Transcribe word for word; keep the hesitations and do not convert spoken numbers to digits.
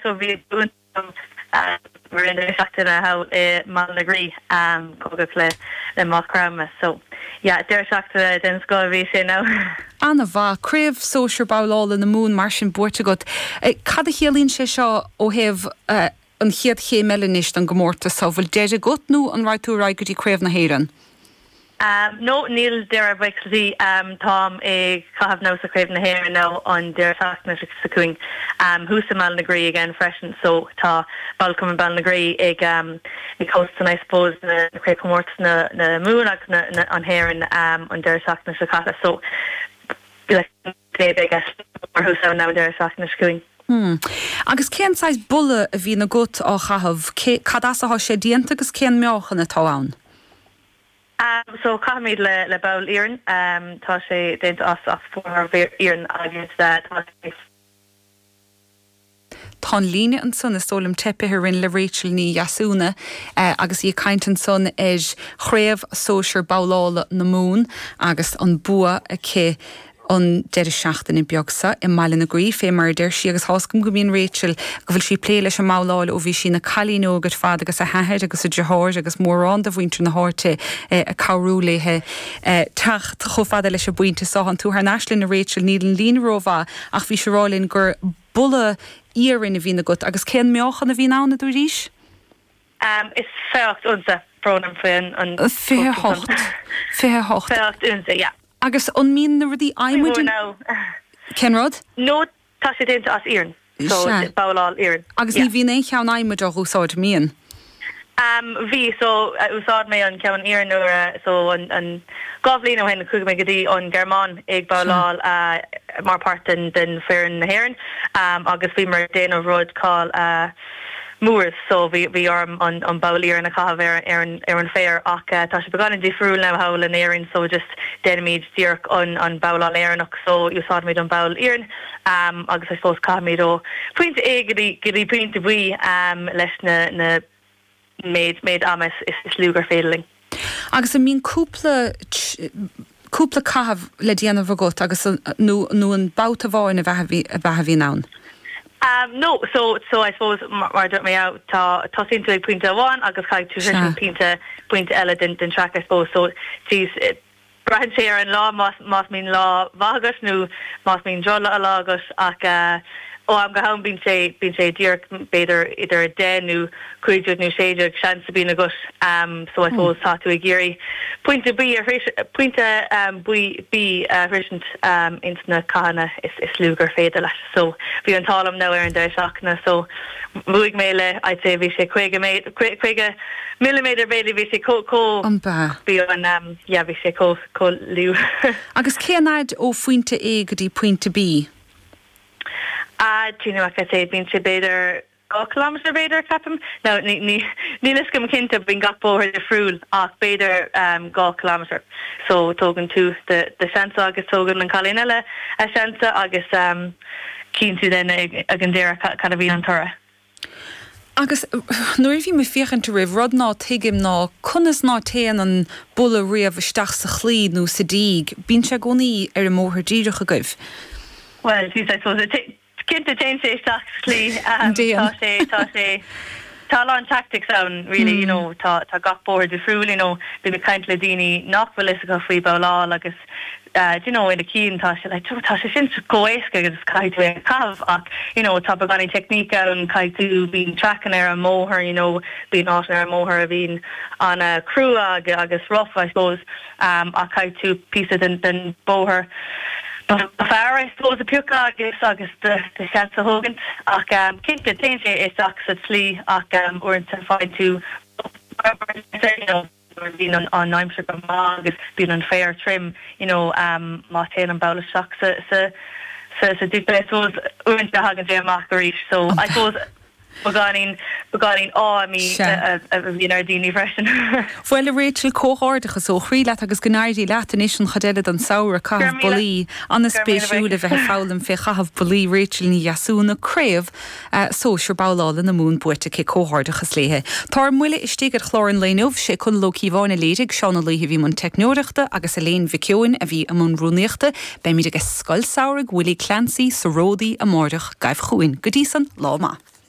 So bhí mar an deireadh seachtaine thall i mBaile na Graí cóngarach le le Maigh Chromtha so yeah deireadh seachtaine den scoth a bhí sé now. An-mhaith craobh sóisir babhlála na Mumhan mar sin buaite agat. Cad a chiallaíonn sé seo ó thaobh an chéad chéim eile anois don gcomórtas so bhfuil deireadh agat nó an raghaidh tú ar aghaidh go dtí craobh na hÉireann? Um, no níl deireadh buíochas um, táim ag caitheamh now sa Craobh na hÉireann now an deireadh seachtaine seo chugainn um, thuas i mBaile na Graí again freisin so tá Balcom Baile na Graí ag um, ag hosting I suppose na craobhchomórtas na na Mumhan agus na, na an hÉireann um, an deireadh seachtaine seo caite so thuas now an deireadh seachtaine seo chugainn. Hmm. Agus cén saghas bulla a bhíonn agat á chaitheamh cad as atá sé déanta agus cén meáchan atá ann? Um, so caithimid le le ball iarainn um, tá sé déanta as as fór iarainn agus uh, tá Tá líne ansan is dóigh liom teipithe orainn le Rachel Ní Dheasúna eh, agus í ag caint ansan ar chraobh sóisir babhlála na Mumhan agus an bua aici an deireadh seachtaine beag seo i mBaile na Graí fé mar deir sí agus háscam go mbíonn Rachel go bhfuil sí ag plé leis an mbabhláil ó bhí sí ina cailín óg ar fad agus a hathair agus a deartháir agus mórán de mhuintir na háite eh, ag cabhrú léi eh, teacht chomh fada leis an bpointe seo an tú thar n-ais linn a Rachel níl an líne rómhaith ach bhí sé rá linn gur bulla iarainn a bhíonn agat agus cén meáchan a bhíonn ann a dúraís? Um, is fiche hocht unsa brón orm faoin an Fiche hocht fiche hocht Fiche hocht unsa, yeah. Agus an mbíonn na rudaí adhmaid Cén rud? No tá sé déanta as iarann so babhláil iarainn. Agus ní bhíonn aon cheann adhmaid á úsáid mbíonn. Um, bhí so uh, úsáid mé an ceann iarainn nuair uh, so an, an dhá bhliain ó shin chuaigh mé go dtí an Ghearmáin ag babhláil uh, mar part den den foireann na hÉireann um, agus bhí mar déanamh rud called uh, Moors so bhí bhí orm an an ball iarainn a chaitheamh ar ar an ar an féar ach uh, tá sé beagáinín difriúil now thall in Éirinn so just déanaimid díreach an an babhláil Éireannach so úsáidimid an ball iarainn um, agus I suppose caithimid ó pointe A go dtí go dtí pointe B um, leis na na méid méid ama is, is, is lú gur féidir linn. Agus an mbíonn cúpla cúpla caitheamh le déanamh agat agus nó nó an babhta amháin a bheith a bhíonn ann. Um, no, so so I suppose mar dúirt mé tá tosaíonn tú ag pointe amháin agus caithfidh tú sin pointe pointe eile den den track I suppose so geez braitheann sé ar an lá más más mbíonn lá maith agat nó más mbíonn droch lá agat ach uh, ó am go ham bíonn sé bíonn sé díreach b'fhéidir idir deich nó cúig déag nó sé déag seans a bhíonn agat um, so I suppose tá tú ag iarraidh pointe B a pointe um, B B a shroichint um, ins na cathanna is is lú gur féidir leis so bhí an t-ádh liom now ar an deireadh seachtaine so bhuaigh mé le I'd say bhí sé caoga caoga milliméadar b'fhéidir bhí sé chomh chomh An ba. bhí an um, yeah, bhí sé chomh chomh lú. Agus cén fhad ó phointe A go dtí pointe B? Ah you know, like I say bíonn sé b'fhéidir dhá kilometer b'fhéidir ceapaim no ní ní ní is go cinnte bíonn gach bóthar difriúil ach b'fhéidir um, dhá kilometer so tógann tú de de seans agus tógann an cailín eile a seans agus um, cíonn tú den ag ag an deireadh cad a bhí an toradh. Agus nuair a bhí mé ag féachaint oraibh rud ná tuigim ná conas ná téann an bulla riamh isteach sa chlaí nó sa díg, bíonn sé i gcónaí ar an mbóthar díreach agaibh. Well, geez, I suppose cinnte téann sé isteach sa chlaí um, tá sé tá sé tá an tactics ann really mm. you know tá tá gach bóthar difriúil you know bím ag caint le daoine nach bhfuil fhios acu faoi babhláil agus uh, you know ina cinn tá sé like tá sé sin chomh héasca agus caithfidh tú é caitheamh ach you know tá beagáinín technique ann caithfidh tú bíonn trackanna ar an mbóthar you know bíonn áit ar an mbóthar a bhíonn an uh, crua agus, agus rough I suppose um, ach caithfidh tú píosa den den bóthar fearr I suppose a phiocadh agus agus de de seans a thógaint ach um, cinnte téann sé isteach sa tslí ach um, uaireanta faigheann tú bíonn an an aimsir go maith agus bíonn an féar tirim you know um, má téann an ball isteach sa sa sa sa dúpa I suppose uaireanta thagann sé amach arís so I suppose beagáinín beagáinín á mí a bhíonn ar daoine freisin. Bhuel a Rachel comhghairdeachas ó chroí leat agus go n-éirí leat anois an chuid eile den samhradh caitheamh bullaí an-spéisiúil a bheith ag foghlaim fé chaitheamh bullaí Rachel Ní Dheasúna craobh sóisir babhlála na Mumhan buaite aici comhghairdeachas léi. Tá ár mbuille istigh ar chlár an lae inniu sé Conall Ó Cíobháin a léirigh Seán Ó Laoithe a bhí i mbun teicneoireachta agus Elaine Mhic Eoin a bhí i mbun rúnaíochta, Beimid ag Scoil Samhraidh Willie Clancy sa Ródaí amárach gabh chugainn go dtí san lá maith.